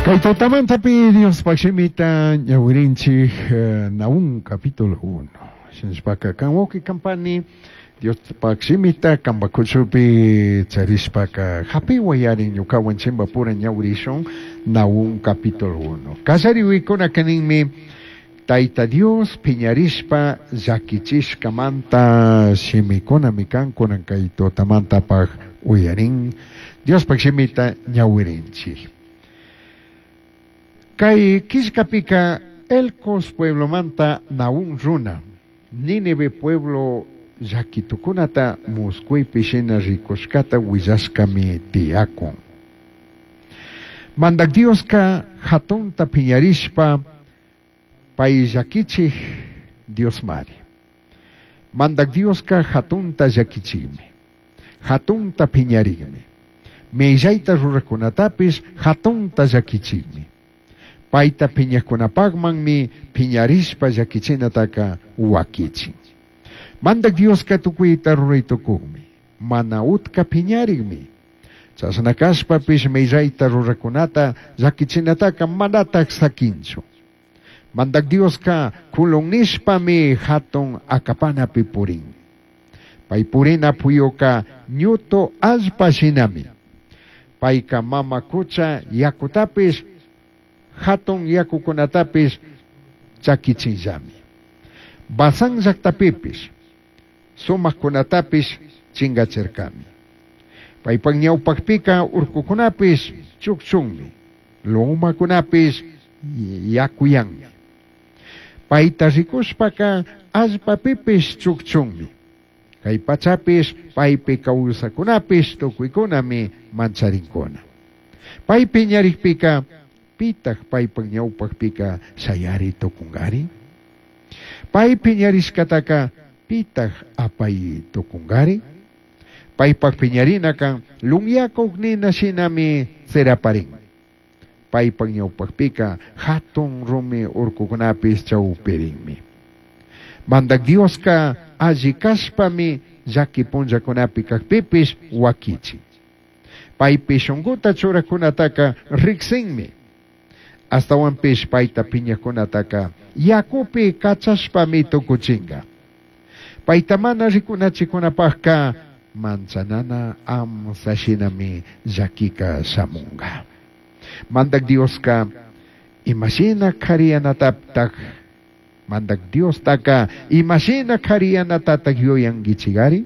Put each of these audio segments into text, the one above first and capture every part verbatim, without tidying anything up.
Kay tutamantapi Diospaq shimita ñawirinchik eh, Nahum capítulo uno. Shinashpaka kan wawqi kan pani Diospaq shimita kanpak kuchupi charishpaka hapiwayari ñukawan chimpapura ñawirishun Nahum capítulo uno. Kallariwikunaka ninmi Tayta Dios piñarishpa llakichishkamanta shimikunami kan kunan kay tutamantapaq uyarin Diospaq shimita ñawirinchik. Kay killkapika Elcos pueblomanta Nahum runa Nínive pueblo llakitukunata musquypi shina rikushkata willashkami tiyakun. Mandak Dioska hatunta piñarishpa pay llakichik Diosmari. Mandak Dioska hatunta llakichikmi. Hatunta piñarikmi. Millayta rurakunatapish hatunta llakichikmi. Payta piñakunapaqmanmi piñarishpa llakichinataka wakichin. Mandak Dioska tukuyta ruray tukukmi. Mana utka piñarikmi. Chashna kashpapish millayta rurakunata llakichinataka manatak sakinchu. Mandak Dioska kulun nishpami hatun akapanapi purin. Pay purina puyuka ñutu allpa shinami. Payka mama kucha yakutapish hatun yakukunatapish chakichinllami. Basán llaqtapipish sumaqkunatapish chingachirkami. Paypak ñawpaqpika urkukunapish chukchunmi, lumakunapish yakuyanmi. Payta rikushpaka allpapipish chukchunmi. Kay pachapish paypi kawsakunapish tukuykunami mancharinkuna. Pay piñarikpika pitaq paypak ñawpaqpika shayari tukunkari? Pay piñarishkataka pitaq apay tukunkari? Paypak piñarinaka lunyakuq nina shinami tsiraparin. Paypak ñawpaqpika hatun rumi urkukunapis chawpirinmi. Mandak Dioska alli kashpami llaki punllakunapi kakpipish wakichin. Paypi shunkuta churakunataka riksinmi. Astawanpish payta piñakunataka yakupi kachashpami tukuchinka. Payta mana rikunachikunapaqka manchanana amsa shinami llakika shamunka. Mandak Dioska imashina kariyanataptak Mandak Diostaka imashina kariyanatataq yuyankichikari?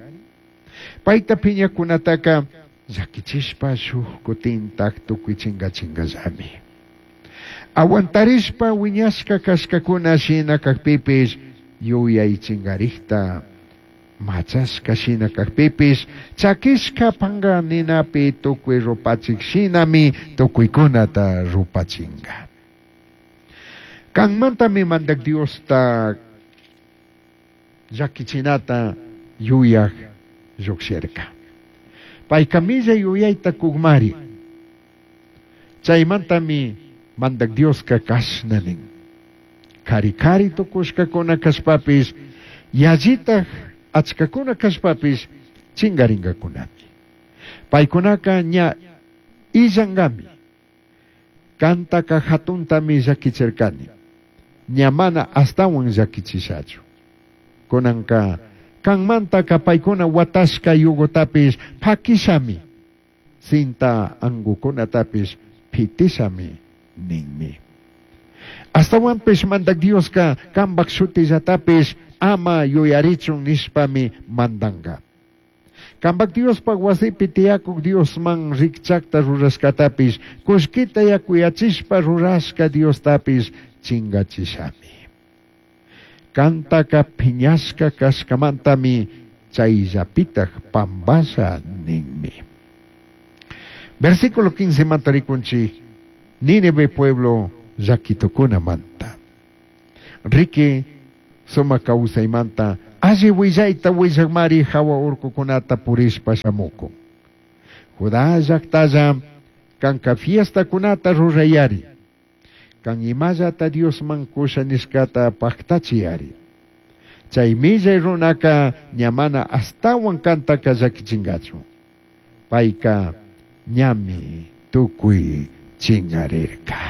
Payta piñakunataka llakichishpa shuk kutintak tukuy chinkachingallami. Aguantarishpa wiñashka kashkakuna shina kakpipish yuyay chinkarikta machashka shina kakpipish chakishka panka ninapi tukuy rupachik shinami tukuykunata rupachinka. Kanmantami mandak Diosta llakichinata yuyak llukshirka. Payka millay yuyayta kukmari. Chaymantami mandak Dioska kashna nin. Kari kari tukushkakuna kashpapish yallitaj achkakuna kashpapish chingarinkakunami. Paykunaka ña illankami. Kantaka hatuntami llakichirkani. Ña mana astawan llakichishachu. Kunanka kanmantaka paykuna watashka yugotapish pakishami. Cinta angukunatapish pitishami ninmi. Astawanpish mandak Dioska kanpak shutillatapish ama yuyarichun nishpami mandanka. Kanpak Diospak wasipi tiyakuk Diosman rikchakta rurashkatapish kullkita yakuyachishpa rurashka Diostapish chingachishami. Kantaka piñashka kashkamantami chayllapitaj pampasha ninmi. Versículo quince manta rikunchik Nínive pueblo llakitukunamanta. Riki sumak kawsaymanta alli willayta willakmari hawa urkukunata purishpa shamukun. Judá llaktalla kanka fiestakunata rurayari. Kan imallata Diosman kusha nishkata paktachiyari. Chay millay runaka ña mana astawan kantakallakichinkachu. Payka ñami tukuy chingarirka.